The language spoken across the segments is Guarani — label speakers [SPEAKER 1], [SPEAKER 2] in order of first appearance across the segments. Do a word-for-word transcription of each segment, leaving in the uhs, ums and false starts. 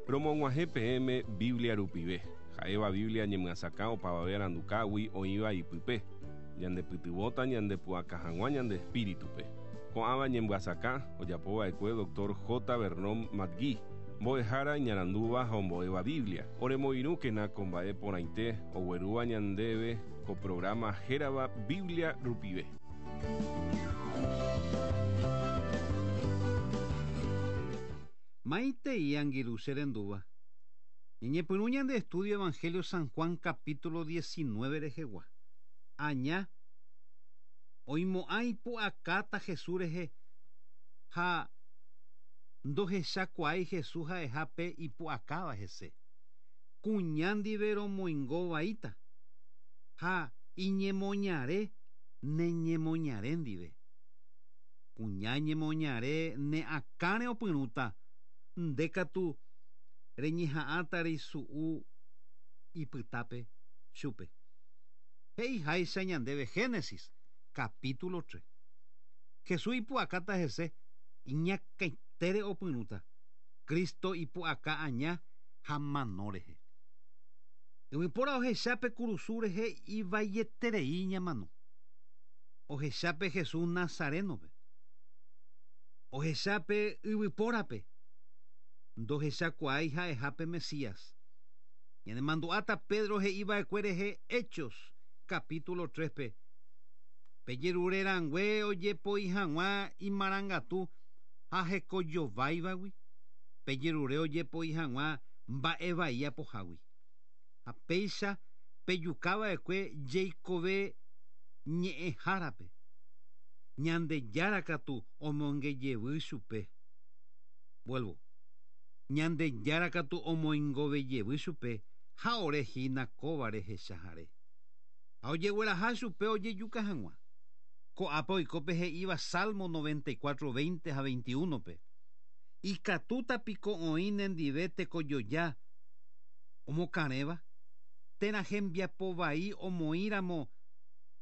[SPEAKER 1] Romog̃uahẽ peẽme Biblia rupive. Ha'éva Biblia ñemyasakã opavave arandukágui oĩva ipype. Ñandepytyvõta ñandepu'aka hag̃ua ñande espíritupe. Ko'ãva ñemyasakã ojapova'ekue doctor J. Vernon McGee, mbo'ehára iñarandúva ha ombo'éva Biblia. Oremoirũkena ko mba'e porãite oguerúva ñandéve ko programa hérava Biblia rupive.
[SPEAKER 2] Maite y angirũ che rendúva. Ñañepyrũ ñande estudio Evangelio San Juan capítulo diecinueve rehegua. Aña oimo'ã ipu'akáta Jesús rehe ha ndohechakuaái Jesús ha'ehápe ipu'akáva hese. Kuña ndive romoingovaíta ha iñemoñare neñemoñare ndive. Kuña ñemoñare ne akãre opyrũta nde katu reñeha'ãta reisu'u ipytápe chupe. He'iháicha ñandéve Génesis capítulo tres. Jesús ipu'akáta hese iñakãitére opyrũta. Cristo ipu'aka aña ha mano rehe. Yvypóra ohechápe kurusu rehe ivaieterei ñamano. Ohechápe Jesús Nazarenope. Ohechápe yvypórape. Ndohechakuaái ha'ehápe Mesías. Ñanemandu'áta Pedro he'iva'ekue rehe Hechos capítulo tres pe. Pejerurerãngue ojepoi hag̃ua imarangatu ha hekojováivagui. Pejerure ojepoi hag̃ua mba'evai apohágui. Ha péicha pejukava'ekue jeikove ñe'ẽhárape. Ñandejára katu omongejevy chupe. Vuelvo. Ñandejára katu omoingovejevy chupe ha orehína kóva rehechahare. Ha ojegueraha chupe ojejuka hag̃ua. Ko'ápe oikópe he'íva Salmo noventa y cuatro, veinte ha veintiuno pe. Ikatúta piko oĩ nendive tekojoja omokarẽva térã hembiapovai omoĩramo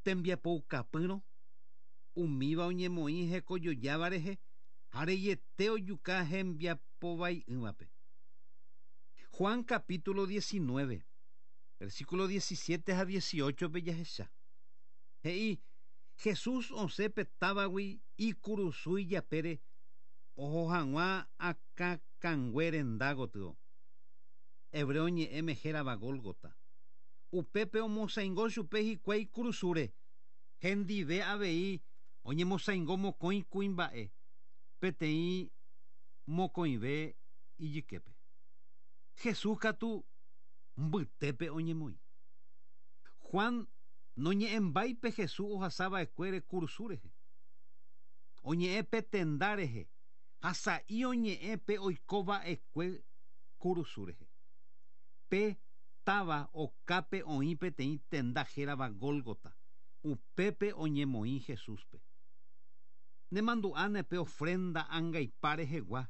[SPEAKER 2] tembiapoukapýrõ umíva oñemoĩ hekojojáva rehe ha reiete ojuka hembiapovai'ỹvape. Juan capítulo diecinueve, versículo diecisiete ha dieciocho pe jahecha. He'i Jesús osẽpe távagui ikurusúi japére oho hag̃ua akãkangue renda gotyo. Hebreo ñe'ẽme hérava Gólgota. Upépe omosaingo chupe hikuái kurusúre. Hendive avei oñemosaingo mokõi kuimba'e peteĩ mokõive ijyképe. Jesús katu mbytépe oñemoĩ. Juan noñe'ẽmbáipe Jesús ohasava'ekuére kurusu rehe. Oñe'ẽpe tenda rehe ha sa'i oñe'ẽpe oikova'ekue kurusu rehe. Pe táva okápe oĩ peteĩ tenda hérava Gólgota. Upépe oñemoĩ Jesúspe. Nemandu'áne pe ofrenda angaipa rehegua.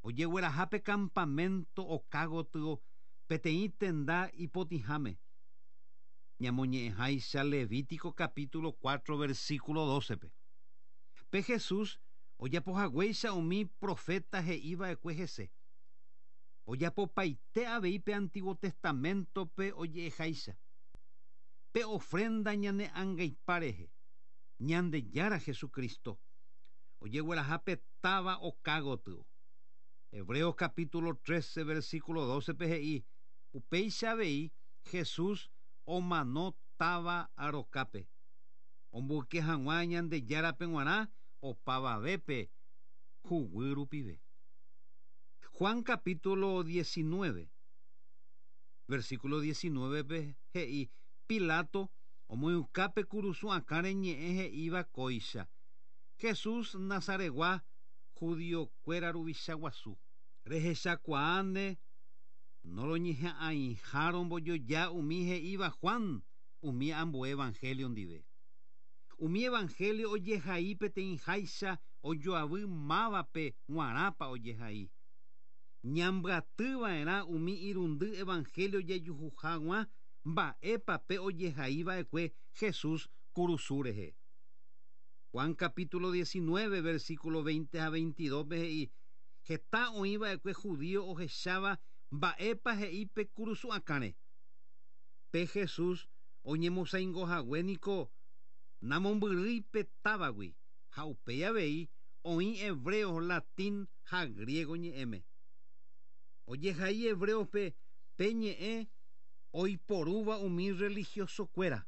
[SPEAKER 2] Ojeguerahápe campamento oka gotyo peteĩ tenda ipotĩháme. Ñamoñe'ẽháicha Levítico capítulo cuatro versículo doce pe. Pe Jesús ojapohaguéicha umi profeta he'iva'ekue hese. Ojapopaite avei pe Antiguo Testamento pe oje'eháicha. Pe ofrenda ñane angaipa rehe. Ñandejára Jesucristo. Ojeguerahápe táva oka gotyo. Hebreos capítulo trece versículo doce pe he'i upéicha avei Jesús omano táva arokápe. Omboyke hag̃ua Ñandejárape g̃uarã opavavépe huguy rupive. Juan capítulo diecinueve versículo diecinueve pe he'i Pilato omoĩukápe kurusu akãre ñe'ẽ he'íva kóicha. Jesús Nazaregua judiokuéra ruvicha guasu. Rehechakuaáne noroñeha'ãiha rombojoja umi he'íva Juan umi ambue evangelio ndive. Umi evangelio ojehai peteĩháicha ojoavy mávape g̃uarãpa ojehai. Ñambyatyva'erã umi irundy evangelio jejuhu hag̃ua mba'épa pe ojehaiva'ekue Jesús kurusu rehe. Juan capítulo diecinueve versículo veinte a veintidós pe he'i heta oĩva'ekue judío ohecháva Mba'épa he'i pe kurusu akãre. Pe Jesús oñemosaingohague niko namombyrýi távagui ha upéi avei oĩ hebreo, latín ha griego ñe'ẽme. Ojehai hebreope pe ñe'ẽ oiporúva umi religiosokuéra.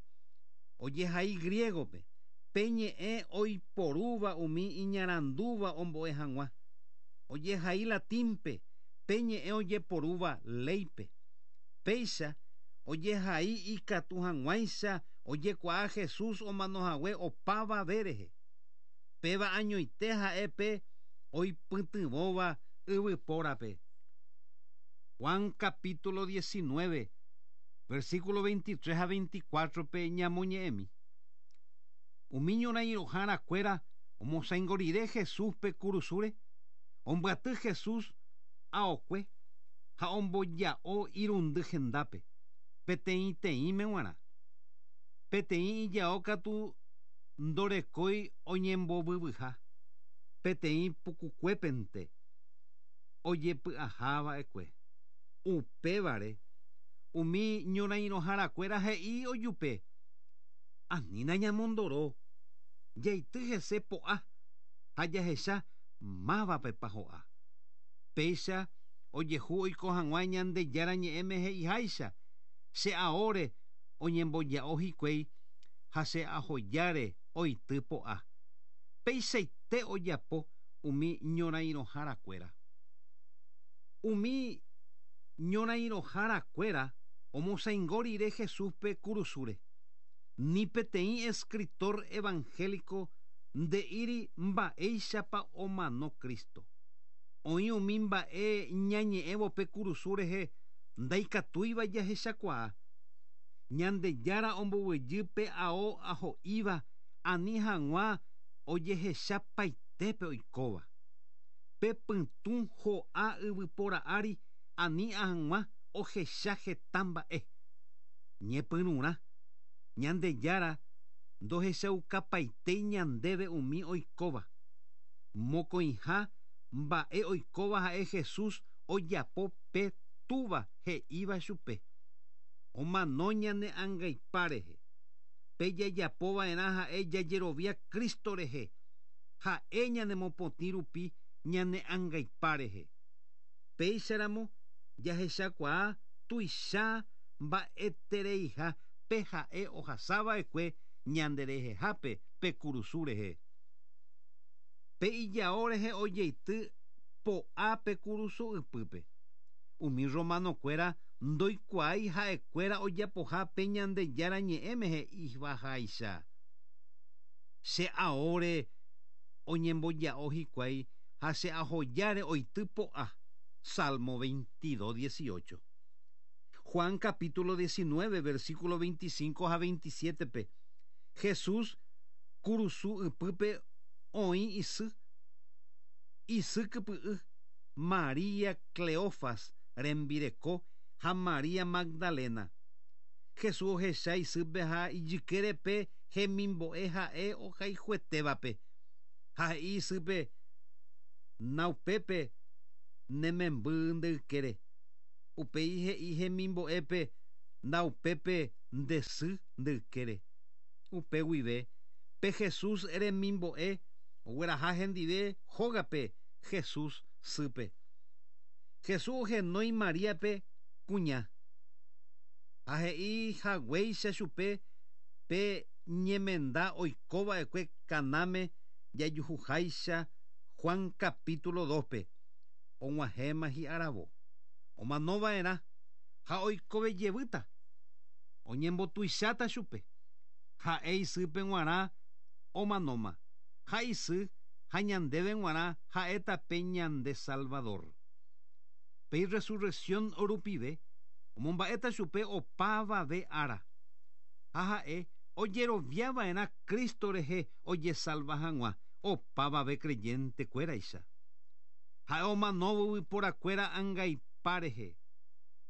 [SPEAKER 2] Ojehai griegope pe ñe'ẽ oiporúva umi iñarandúva ombo'e hag̃ua. Ojehai latínpe pe ñe'ẽ ojeporúva léipe. Péicha ojehai ikatu hag̃uáicha ojekuaa Jesús omanohague opavave rehe. Péva añoite ha'e pe oipytyvõva yvypórape. Juan capítulo diecinueve, versículo veintitrés a veinticuatro pe ñamoñe'ẽmi. Umi ñorãiroharakuéra omosaingorire Jesúspe kurusúre, ombyaty Jesús aokue ha omboja'o irundy hendápe, peteĩteĩme g̃uarã. Peteĩ ijao katu ndorekói oñembovyvyha, peteĩ pukukuépente ojepy'ahava'ekue. Upévare umi ñorãiroharakuéra he'i ojupe: Anína ñamondoro, jaity hese po'a ha jahecha mávapepa ho'a. Péicha ojehu oiko hag̃ua Ñandejára ñe'ẽme he'iháicha che aóre oñemboja'o hikuái ha che ahojáre oity po'a. Peichaite ojapo umi ñorãiroharakuéra. Umi ñorãiroharakuéra omosaingórire Jesúspe kurusúre. Ni peteĩ escritor evangélico nde'íri mba'éichapa omano Cristo. Oĩ umi mba'e ñañe'ẽvo pe kurusu rehe ndaikatúiva jahechakuaa. Ñandejára omboguejýpe ao aho'íva ani hag̃ua ojehechapaitépe oikóva. Pe pytũ ho'a yvypóra ári ani hag̃ua ohecha heta mba'e. Ñepyrũrã Ñandejára ndohechaukapaitei ñandéve umi oikóva. Mokõiha mba'e oikóva ha'e Jesús ojapo pe túva he'íva chupe. Omano ñane angaipa rehe. Pe jajapova'erã ha'e jajerovia Cristo rehe. Ha'e ñanemopotĩ rupi ñane angaipa rehe. Péicharamo jahechakuaa tuicha mba'etereiha pe ha'e ohasava'ekue ñanderehehápe pe kurusu rehe. Pe ijao rehe ojeity po'a pe kurusu ypýpe. Umi romanokuéra ndoikuaái ha'ekuéra ojapoha pe Ñandejára ñe'ẽme he'ivaháicha. Che aóre oñemboja'o hikuái ha che ahojáre oity po'a. Salmo veintidós, dieciocho. Juan capítulo diecinueve, versículo veinticinco a veintisiete pe. Jesús kurusu ypýpe oĩ isy. Isy kypy'y María Cleofas rembireko ha María Magdalena. Jesús ohecha isýpe ha ijykérepe hemimbo'e ha'e ohayhuetévape. Ha he'i isýpe naupépe nememby ndeykére. Upéi he'i hemimbo'épe naupépe ndesy ndeykére. Upe guive pe Jesús remimbo'e ogueraha hendive hógape Jesús sýpe. Jesús ohenói Maríape kuña. Ha he'i haguéicha chupe pe ñemenda oikova'ekue Canáme jajuhuháicha Juan capítulo dospe. Og̃uahẽma hi'aravo. Omanova'erã ha oikovejevýta. Oñembotuicháta chupe. Ha'e isýpe g̃uarã omanóma. Ha isy ha ñandéve g̃uarã ha'éta pe ñande Salvador. Pe resurrección rupive omomba'éta chupe opavave ára. Ha ha'e ojeroviava'erã Cristo rehe ojesalva hag̃ua opavave creyentekuéraicha. Ha'e omanóvo yvyporakuéra angaipa rehe.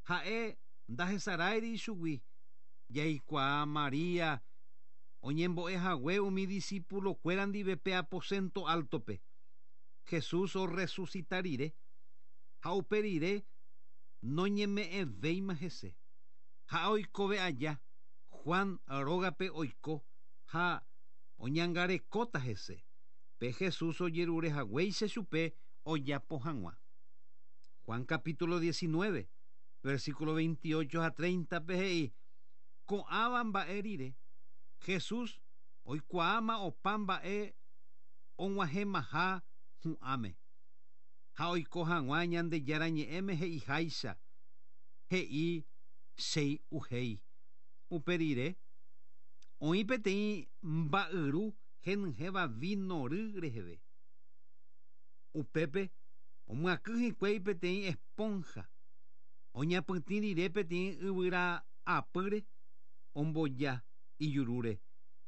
[SPEAKER 2] Ha'e ndahesaráiri ichugui. Jaikuaa María oñembo'ehague umi discípulokuéra ndive pe aposento altope. Jesús orresucita rire ha upe rire Noñeme'ẽvéima hese. Ha oikove aja Juan rógape oiko ha oñangarekóta hese. Pe Jesús ojerure haguéicha chupe ojapo hag̃ua. Juan capítulo diecinueve, versículo veintiocho a treinta pe he'i ko'ãva mba'e rire Jesús oikuaáma opa mba'e og̃uahẽmaha hu'ãme. Ha oiko hag̃ua Ñandejára ñe'ẽme he'iháicha he'i chei'uhéi. Upe rire oĩ peteĩ mba'yru henyhẽva vino ry reheve. Upépe omyakỹ hikuái peteĩ esponja oñapytĩ rire peteĩ yvyra apýre omboja ijurúre.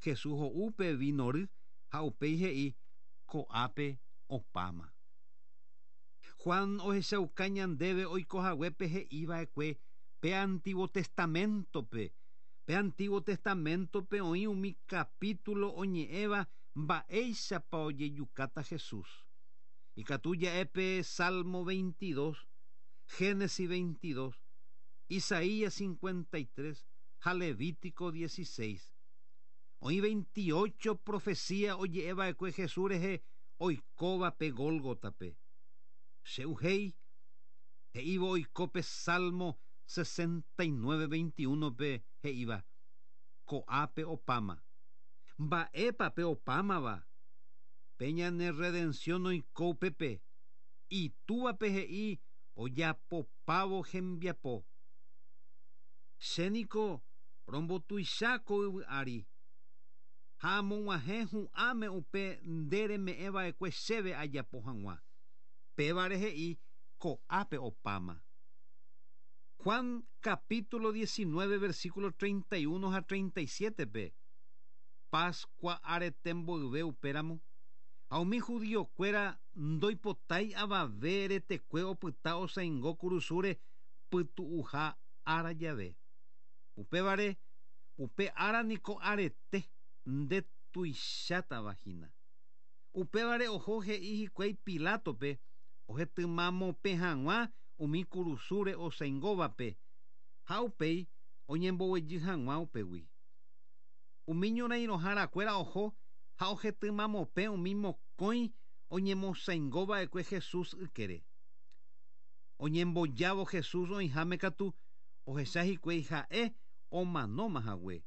[SPEAKER 2] Jesús ho'u pe vino ry ha upéi he'i ko'ápe opáma. Juan ohechauka ñandéve oikohaguépe he'iva'ekue pe Antiguo Testamentope. Pe Antiguo Testamentope oĩ umi capítulo oñe'ẽva mba'éichapa ojejukáta Jesús. Ikatu ja'e pe Salmo veintidós, Génesis veintidós, Isaías cincuenta y tres ha Levítico dieciséis. Oĩ veintiocho profecía oje'eva'ekue Jesús rehe oikóva pe Gólgotape. Cheuhéi he'ívo oiko pe Salmo sesenta y nueve, veintiuno pe he'íva ko'ápe opáma. Mba'épa pe opámava? Pe ñane redención oiko upépe. Itúvape he'i ojapopávo hembiapo. Chéniko rombotuicha ko yvy ári. Ha amog̃uahẽ hu'ãme upe nde reme'ẽva'ekue chéve ajapo hag̃ua. Pévare he'i ko'ápe opáma. Juan capítulo diecinueve, versículo treinta y uno a treinta y siete pe Pascua arete mboyve upéramo ha umi judiokuéra ndoipotái avave retekue opyta osaingo kurusúre pytu'uha ára jave. Upévare upe ára niko arete nde tuichátava hína. Upévare oho he'i hikuái Pilatope ohetymamopẽ hag̃ua umi kurusúre osaingóvape ha upéi oñemboguejy hag̃ua upégui. Umi ñorairõharakuéra oho ha ohetymamopẽ umi mokõi oñemosaingova'ekue Jesús ykére. Oñembojávo Jesús oĩháme katu ohecha hikuái ha'e omanóma hague.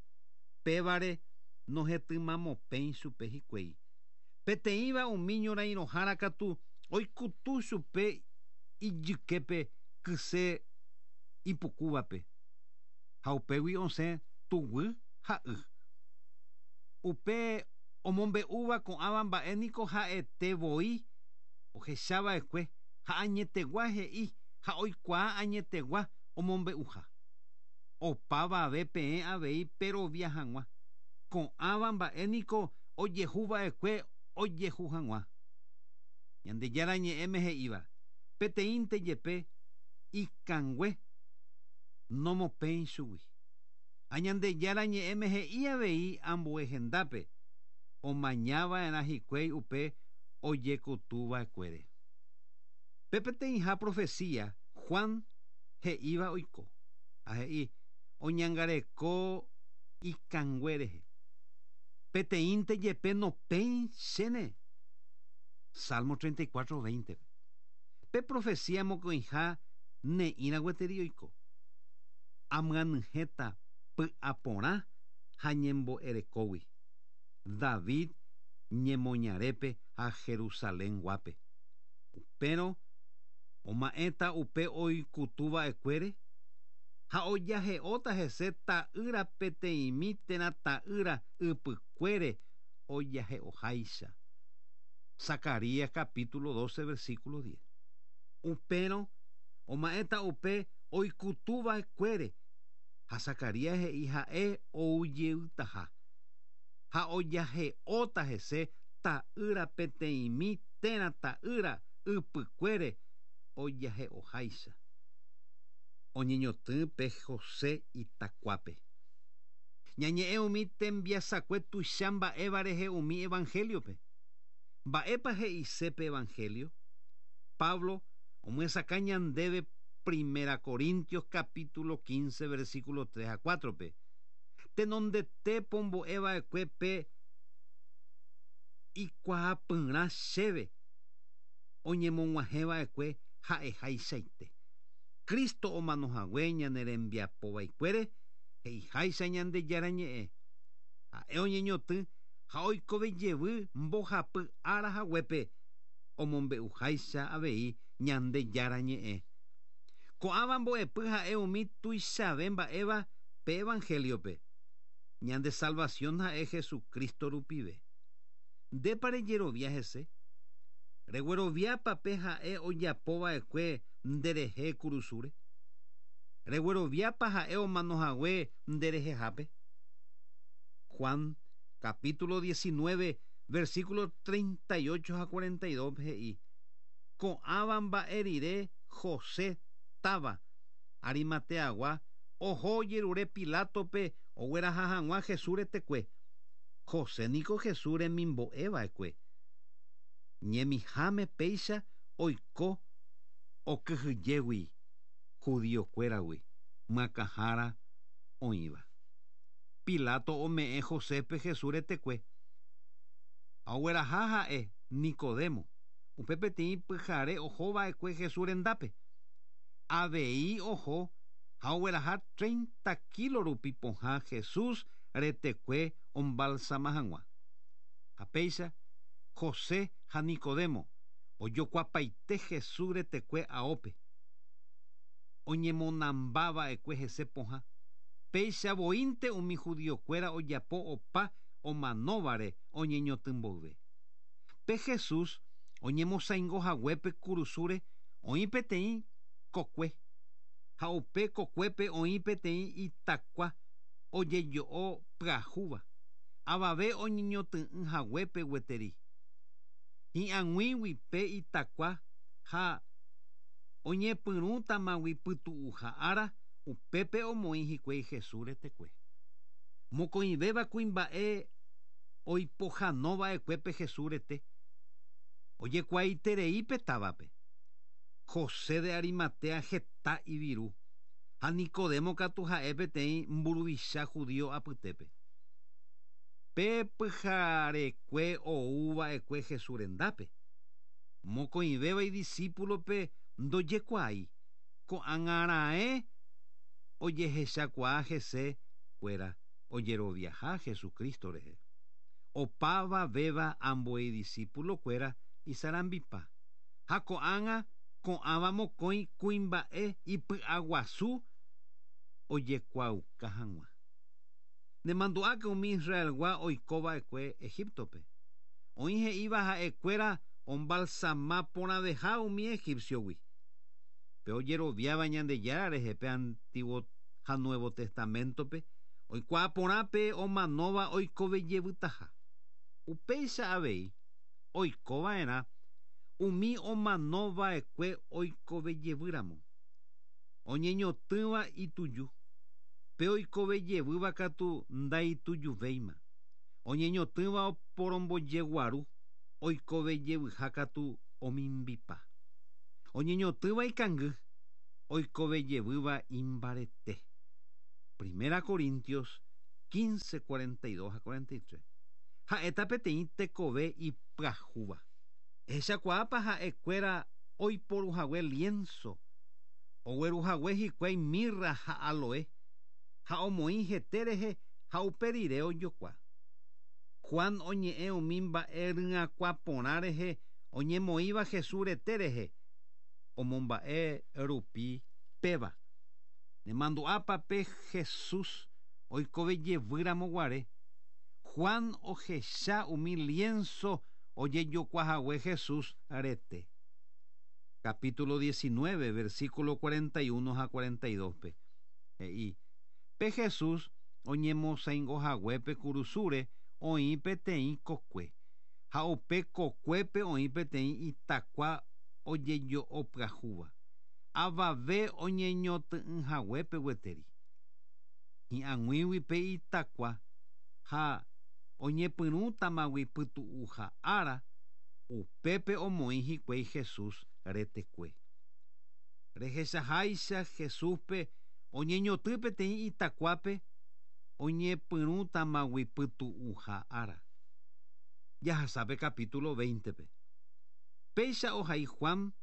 [SPEAKER 2] Pévare nohetymamopẽi chupe hikuái. Peteĩva umi ñorairõhára katu oikutu chupe ijyképe kyse ipukúvape. Ha upégui osẽ tuguy ha y. Upe omombe'úva ko'ãva mba'e niko ha'ete voi ohechava'ekue ha añetegua he'i ha oikuaa añetegua omombe'uha. Opavave peẽ avei perovia hag̃ua. Ko'ãva mba'e niko ojehuva'ekue ojehu hag̃ua. Ñandejára ñe'ẽme he'íva peteĩnte jepe ikangue nomopẽi chugui. Ha Ñandejára ñe'ẽme he'i avei ambue hendápe omañava'erã hikuái upe ojekutuva'ekuére. Pe peteĩha profecía Juan he'íva oiko. Ha he'i oñangareko ikangue rehe. Peteĩnte jepe nopẽi chéne. Salmo treinta y cuatro, veinte. Pe profecía mokõiha ne'ĩra gueteri oiko. Amyanyhẽta py'aporã ha ñembo'erekógui. David ñemoñarépe ha Jerusalén guápe. Upérõ oma'ẽta upe oikutuva'ekuére ha ojahe'óta hese ta'ýra peteĩmi térã ta'ýra ypykuére ojahe'oháicha. Zacarías capítulo doce, versículo diez. Upérõ oma'ẽta upe oikutuva'ekuére ha Zacarías he'i ha'e oujeytaha. Ha ojahe'óta hese ta'ýra peteĩmi térã ta'ýra ypykuére ojahe'oháicha. Oñeñotỹ pe José itakuápe. Ñañe'ẽ umi tembiasakue tuicha mba'éva rehe umi evangeliope. Mba'épa he'ise pe evangelio? Pablo omyesakã ñandéve Primera Corintios capítulo quince versículo tres a cuatro pe. Tenondete pombo'eva'ekue pe ikuaapyrã chéve oñemog̃uahẽva'ekue ha'ehaichaite. Cristo omanohague ñane rembiapovaikuére he'iháicha Ñandejára ñe'ẽ. Ha'e oñeñotỹ ha oikovejevy mbohapy ára haguépe omombe'uháicha avei Ñandejára ñe'ẽ. Ko'ãva mbo'epy ha'e umi tuichave mba'éva pe evangeliope. Ñande salvación ha'e Jesucristo rupive. Ndépa rejerovia hese? Regueroviápa ha'e ojapova'ekue nderehe kurusúre? Regueroviápa ha'e omanohague nderehehápe? Juan capítulo diecinueve versículo treinta y ocho a cuarenta y dos he'i: Ko'ãva mba'e rire José táva Arimateagua oho ojerure Pilatope ogueraha hag̃ua Jesús retekue. José niko Jesús remimbo'eva'ekue. Ñemiháme péicha oiko okyhyjégui judiokuéragui myakãhára oĩva. Pilato ome'ẽ Josépe Jesús retekue. Ha ogueraha ha'e Nicodemo. Upe peteĩ pyhare ohova'ekue Jesús rendápe. Avei oho ha ogueraha treinta kilo rupi pohã Jesús retekue ombalsama hag̃ua. Ha péicha José ha Nicodemo ojokuapaite Jesús retekue aópe. Oñemonambava'ekue hese pohã. Péicha voínte umi judiokuéra ojapo opa omanóvare oñeñotỹmboyve. Pe Jesús oñemosaingohaguépe kurusúre oĩ peteĩ kokue. Ha upe kokuépe oĩ peteĩ itakua ojejo'o pyahúva. Avave oñeñotỹ'ỹhaguépe gueteri. Hi'ag̃uígui pe itakua ha oñepyrũtamagui pytu'uha ára upépe omoĩ hikuái Jesús retekue. Mokõivéva kuimba'e oipohãnova'ekuépe Jesús rete. Ojekuaaiterei pe távape. José de Arimatea heta iviru ha Nicodemo katu ha'e peteĩ mburuvicha judío apytépe. Pe pyharekue ouva'ekue Jesús rendápe. Mokõivéva idiscípulope ndojekuaái. Ko'ág̃arãe ojehechakuaa hese kuéra ojeroviaha Jesucristo rehe. Opavavéva ambue idiscípulokuéra isarambipa. Ha ko'ág̃a ko'ãva mokõi kuimba'e ipy'aguasu ojekuaauka hag̃ua. Nemandu'áke umi Israelgua oikova'ekue Egiptope. Oĩ he'íva ha'ekuéra ombalsama porãveha umi egipciogui. Pe ojeroviáva Ñandejára rehe pe Antiguo ha Nuevo Testamentope oikuaa porã pe omanóva oikovejeyvytaha. Upéicha avei oikova'erã umi omanova'ekue oikovejevýramo. Oñeñotỹva ituju. Pe oikovejevýva katu ndaitujuvéima. Oñeñotỹva oporombojeguaru oikovejevyha katu omimbipa. Oñeñotỹva ikangy oikovejevýva imbarete. Primera Corintios quince, cuarenta y dos a cuarenta y tres. Ha'éta peteĩ tekove ipyahúva. Ehechakuaápa ha'ekuéra oiporuhague lienzo, ogueruhague hikuái mirra ha aloe, ha omoĩ hete rehe ha upe rire ojokua. Juan oñe'ẽ umi mba'e ry'akua porã rehe oñemoĩva Jesús rete rehe, omomba'e rupi péva. Nemandu'ápa pe Jesús oikovejevýramo guare. Juan ohecha umi lienzo ojejokuahague Jesús rete. Capítulo diecinueve, versículo cuarenta y uno a cuarenta y dos pe. He'i, pe Jesús oñemosaingohaguépe kurusúre oĩ peteĩ kokue. Ha upe kokuépe oĩ peteĩ itakua ojejo'opyahúva. Avave oñeñotỹ'ỹhaguépe gueteri. Hi'ag̃uígui pe itakua ha oñepyrũtamagui pytu'uha ára upépe omoĩ hikuái Jesús retekue. Rehechaháicha Jesúspe oñeñoty peteĩ itakuápe oñepyrũtamagui pytu'uha ára. Jahasápe capítulo veinte-pe. Péicha ohai Juan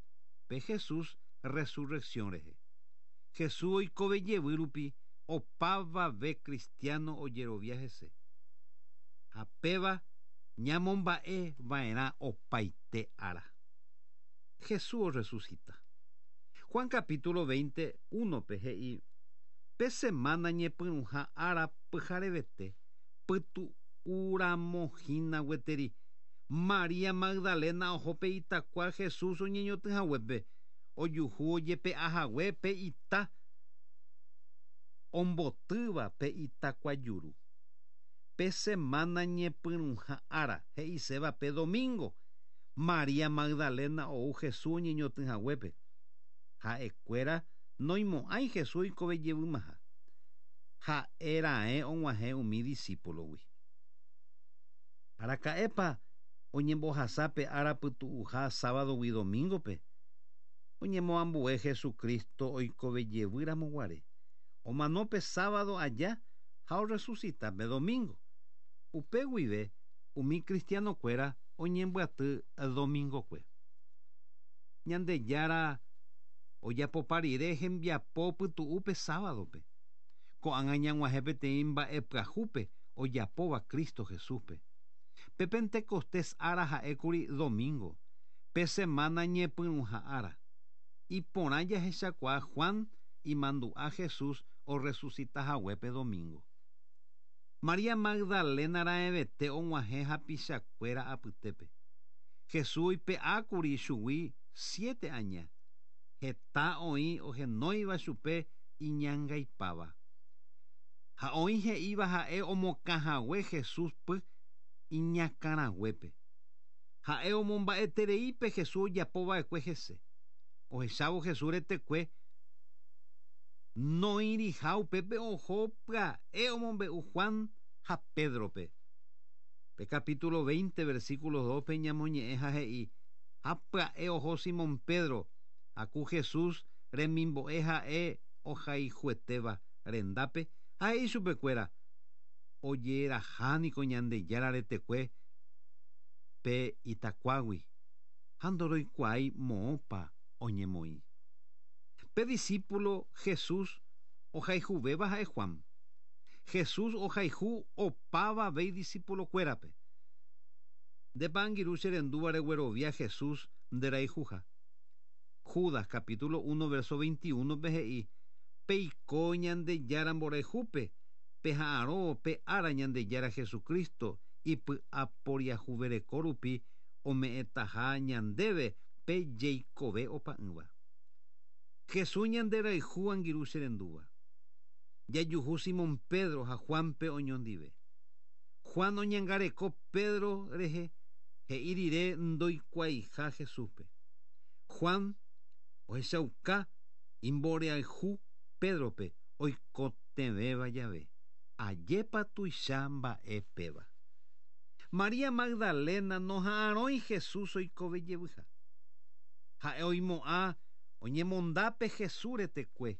[SPEAKER 2] pe Jesús resurrección rehe. Jesús oikove jevy rupi opavave cristiano ojerovia hese. Ha péva ñamomba'e va'erã opaite ára. Jesús resucita. Juan capítulo veinte uno-pe he'i pe semana ñepyrũha ára pyharevete pytu'uramohína gueteri María Magdalena oho pe itakua Jesús oñeñotyhaguépe ojuhu ojepe'ahague pe ita ombotýva pe itakuajuru. Pe semana ñepyrũha ára he'iséva pe domingo María Magdalena ou Jesús oñeñotyhaguépe. Ha'ekuéra noimo'ãi Jesús oikove jevymaha. Ha'eraẽ og̃uahẽ umi discípulogui. Araka'épa oñembohasápe ára pytu'uha sábadogui domingo-pe. Oñemoambue Jesucristo oikove jevýramo guare. Omano pe sábado aja ha orresucita pe domingo. Upe guive umi cristianokuéra oñembyaty domingokue. Ñandejára ojapopa rire hembiapo pytu'úpe sábadope. Ko'ág̃a ñag̃uahẽ peteĩ mba'e pyahúpe ojapóva Cristo Jesúspe. Pe Pentecostés ára ha'ékuri domingo, pe semana ñepyrũha ára. Iporã jahechakuaa Juan imandu'a Jesús orresucitahaguépe domingo. María Magdalena raẽvete og̃uahẽ hapichakuéra apytépe. Jesús oipe'ákuri chugui siete aña. Heta oĩ ohenóiva chupe iñangaipáva. Ha oĩ he'íva ha'e omokãhague Jesús py iñakãraguépe. Ha'e omomba'etereípe Jesús ojapova'ekue hese. Ohechávo Jesús retekue noĩriha upépe oho pya'e omombe'u Juan ha Pedrope. Pe capítulo veinte versículo dos-pe ñamoñe'ẽ ha he'i ha pya'e oho Simón Pedro aku Jesús remimbo'e ha'e ohayhuetéva rendápe ha he'i chupekuéra ojeraha niko Ñandejára retekue pe itakuágui ha ndoroikuaái moõpa oñemoĩ. Pe discípulo Jesús ohayhuvéva ha'e Juan. Jesús ohayhu opavave idiscípulokuérape. Ndépa angirũ che rendúva reguerovia Jesús nderayhuha. Judas capítulo uno verso veintiuno-pe he'i peiko Ñandejára mborayhúpe peha'arõ pe ára Ñandejára Jesucristo ipy'aporiahuvereko rupi ome'ẽtaha ñandéve pe jeikove opa'ỹva. Jesús ñanderayhu angirũ che rendúva. Jajuhu Simón Pedro ha Juanpe oñondive. Juan oñangareko Pedro rehe he'i rire ndoikuaaiha Jesúspe. Juan ohechauka imborayhu Pedrope oikotevẽva jave. Ajépa tuicha mba'e péva. María Magdalena noha'arõi Jesús oikove jevyha. Ha'e oimo'ã oñemondápe Jesús retekue.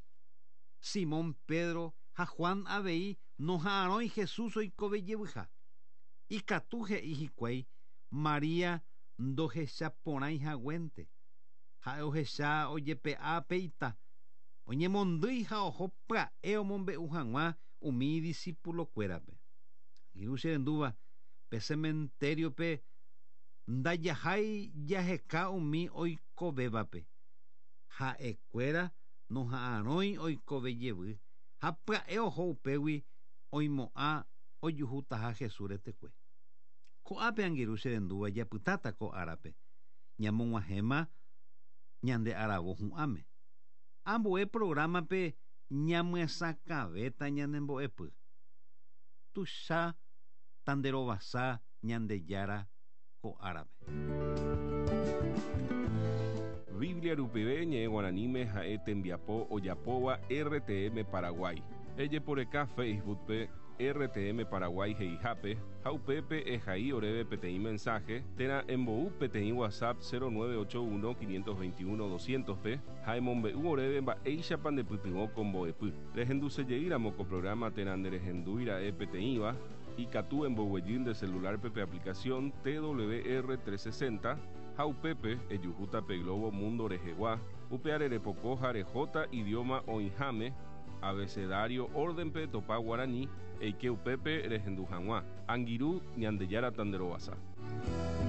[SPEAKER 2] Simón Pedro ha Juan avei noha'arõi Jesús oikove jevyha. Ikatu he'i hikuái María ndohechaporãi haguénte. Ha'e ohecha ojepe'a pe ita. Oñemondýi ha oho pya'e omombe'u hag̃ua umi discípulokuérape. Irũ che rendúva pe cementerio-pe ndajahái jaheka umi oikovévape. Ha'ekuéra noha'arõi oikove jevy ha pya'e oho upégui oimo'ã ojuhutaha Jesús retekue. Ko'ápe angirũ che rendúva japytáta ko árape. Ñamog̃uahẽma ñande aravo hu'ãme. Ambue programa-pe ñamyesakãvéta ñanembo'epy. Tuicha tanderovasa Ñandejára ko árape.
[SPEAKER 1] Biblia rupive ñe'ẽ guaraníme ha'e tembiapo ojapóva R T M Paraguay. Ejeporeka Facebook-pe R T M Paraguay he'ihápe ha upépe ehai oréve peteĩ mensaje térã embou peteĩ WhatsApp cero nueve ocho uno quinientos veintiuno doscientos pe ha emombe'u oréve mba'éichapa ndepytyvõ ko mbo'epy. Rehendusejeýramo ko programa térã nderehendúira'e peteĩva, ikatu emboguejy nde celular-pe pe aplicación T W R trescientos sesenta ha upépe ejuhúta pe globo mundo rehegua, upe repoko ha rehóta idioma oĩháme abecedario orden-pe topa guaraní eike upépe rehendu hag̃ua. Angirũ, Ñandejára tanderovasa.